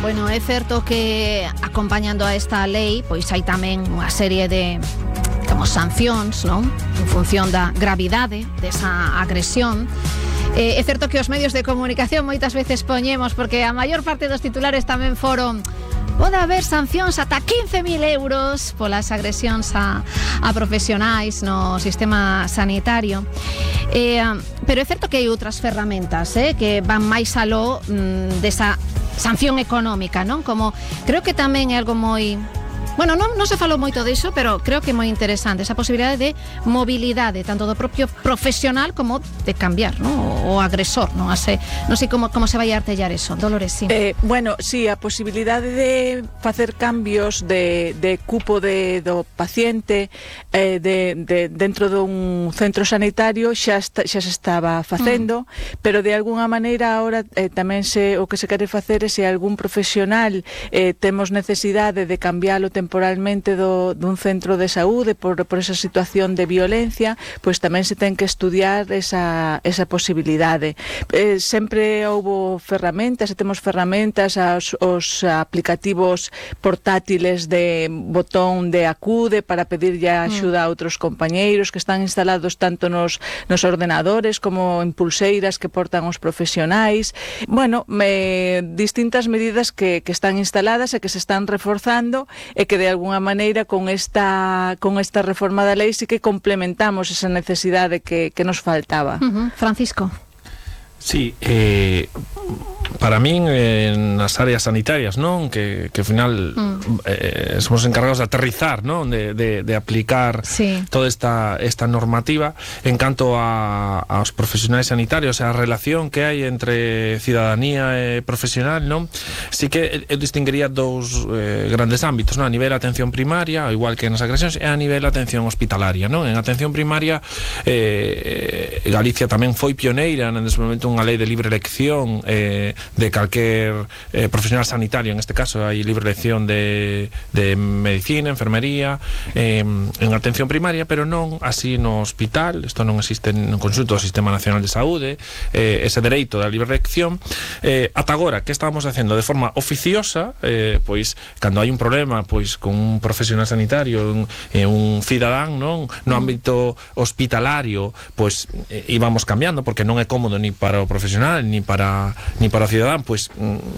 Bueno, é certo que acompañando a esta lei, pois hai tamén unha serie de sancións, non? En función da gravidade desa agresión. É certo que os medios de comunicación moitas veces poñemos, porque a maior parte dos titulares tamén foron: pode haber sancións ata 15.000 euros polas agresións a profesionais no sistema sanitario. Pero é certo que hai outras ferramentas que van máis aló desa sanción económica, non? Como creo que tamén é algo moi... Bueno, non se falou moito diso, pero creo que é moi interesante esa posibilidade de mobilidade, tanto do propio profesional como de cambiar, ¿no? O agresor, non sei como se vai artellar eso. Dolores, sí. Bueno, sí, a posibilidade de facer cambios de cupo do paciente dentro dun centro sanitario xa se estaba facendo, pero de alguna maneira agora tamén o que se quere facer é se algún profesional temos necesidade de cambiálo temporalmente dun centro de saúde por esa situación de violencia, pois tamén se ten que estudiar esa posibilidade. Sempre houbo ferramentas, e temos ferramentas, os aplicativos portátiles de botón de acude para pedirlle axuda a outros compañeiros que están instalados tanto nos ordenadores como en pulseiras que portan os profesionais. Bueno, distintas medidas que están instaladas e que se están reforzando e que de alguna maneira con esta reforma da lei sí que complementamos esa necesidade que nos faltaba. Francisco. Sí, para min nas áreas sanitarias, non? Que ao final somos encargados de aterrizar, non? De aplicar toda esta normativa. En canto aos profesionais sanitarios, a relación que hai entre cidadanía e profesional, non? Sí que eu distinguiría dous grandes ámbitos, non? A nivel atención primaria, igual que nas agresións, e a nivel atención hospitalaria, non? En atención primaria, Galicia tamén foi pioneira en desenvolvemento unha lei de libre elección de calquer profesional sanitario. En este caso hai libre elección de medicina, enfermería, en atención primaria, pero non así no hospital. Isto non existe no conxunto do Sistema Nacional de Saúde, ese dereito da libre elección. Ata agora, que estábamos facendo de forma oficiosa, pois cando hai un problema pois con un profesional sanitario, un cidadán, non, no ámbito hospitalario, pois íbamos cambiando, porque non é cómodo ni para o profesional ni para o cidadán, pois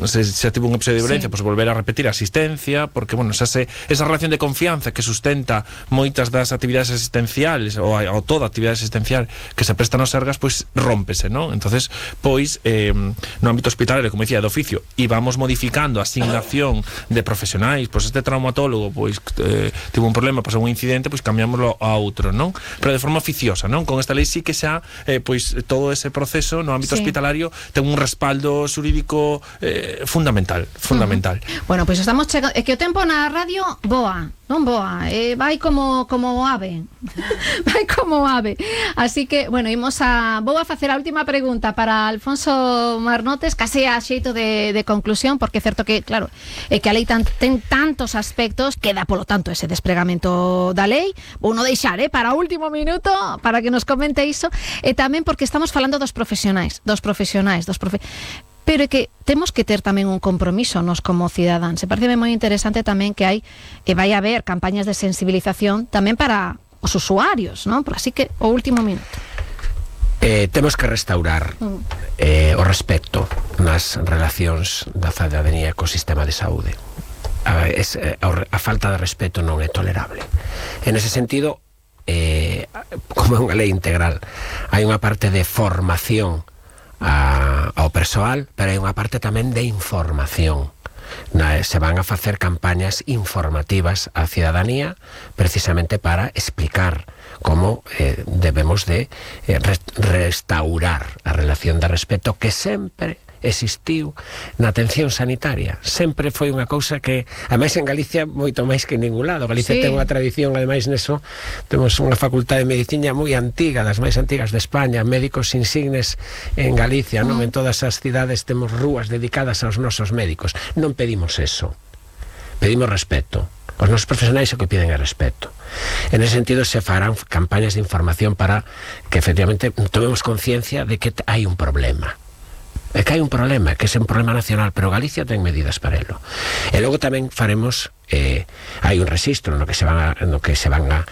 se tivo un episodio de violencia, pois volver a repetir a asistencia, porque, bueno, esa relación de confianza que sustenta moitas das actividades asistenciales ou toda actividade asistencial que se presta nos sergas, pois rómpese, non? Entonces, pois no ámbito hospitalario, como dicía, de oficio, íbamos modificando a asignación de profesionais, pois este traumatólogo pois tivo un problema, pois un incidente, pois cambiámoslo a outro, non? Pero de forma oficiosa, non? Con esta lei sí que xa pois todo ese proceso no ámbito hospitalario ten un respaldo xurídico fundamental. Bueno, pois estamos chegando, é que o tempo na radio voa, non voa, vai como ave. Vai como ave. Así que, bueno, vou a facer a última pregunta para Alfonso Marnotes, case a xeito de conclusión, porque é certo que, claro, é que a lei ten tantos aspectos, queda polo tanto ese despregamento da lei. Vou non deixar, para o último minuto, para que nos comente iso, e tamén porque estamos falando dos profesionais, pero é que temos que ter tamén un compromiso nos como cidadáns. Se parece moi interesante tamén que vai haber campañas de sensibilización tamén para os usuarios, non? Así que o último minuto. Temos que restaurar o respecto nas relacións da cidadanía co sistema de saúde. A falta de respeto non é tolerable. En ese sentido, como é unha lei integral, hai unha parte de formación ao persoal, pero hai unha parte tamén de información. Se van a facer campañas informativas á cidadanía precisamente para explicar como debemos de restaurar a relación de respeto que sempre existiu na atención sanitaria. Sempre foi unha cousa que, ademais, en Galicia moito máis que en ningún lado. Galicia ten unha tradición, ademais, neso temos unha facultade de medicina moi antiga, das máis antigas de España, médicos insignes en Galicia, non? En todas as cidades temos rúas dedicadas aos nosos médicos. Non pedimos eso, pedimos respeto. Os nosos profesionais o que piden é respeto. En ese sentido se farán campañas de información para que efectivamente tomemos conciencia de que hai un problema. É que hai un problema, que é un problema nacional, pero Galicia ten medidas para elo. E logo tamén faremos, hai un rexistro no que se van a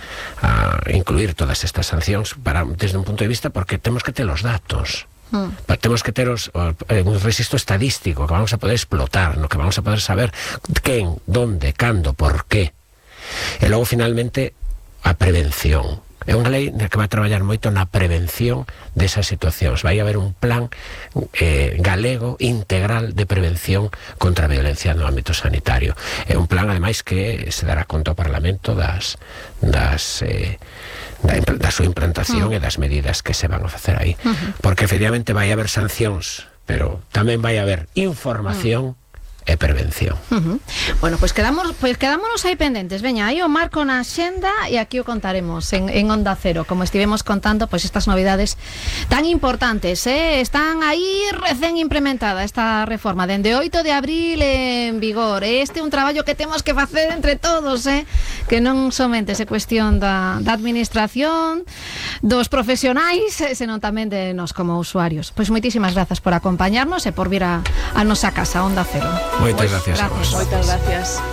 incluir todas estas sancións desde un punto de vista, porque temos que ter os datos. Temos que ter un registro estadístico que vamos a poder explotar, no que vamos a poder saber quen, donde, cando, por qué. E logo finalmente a prevención. É unha lei que vai traballar moito na prevención desas situacións. Vai haber un plan galego integral de prevención contra a violencia no ámbito sanitario. É un plan, ademais, que se dará conta ao Parlamento da súa implantación e das medidas que se van a facer aí. Porque efectivamente vai haber sancións, pero tamén vai haber información e prevención. Bueno, pues quedámonos aí pendentes. Veña, aí o marco na xenda e aquí o contaremos en Onda Cero, como estivemos contando, pues estas novidades tan importantes, están aí recén implementada esta reforma dende 8 de abril en vigor. Este é un traballo que temos que facer entre todos, que non somente se cuestión da administración, dos profesionais, senón tamén de nós como usuarios. Pois moitísimas grazas por acompañarnos e por vir a nosa casa, Onda Cero. Moitas gracias a vos. Moitas gracias.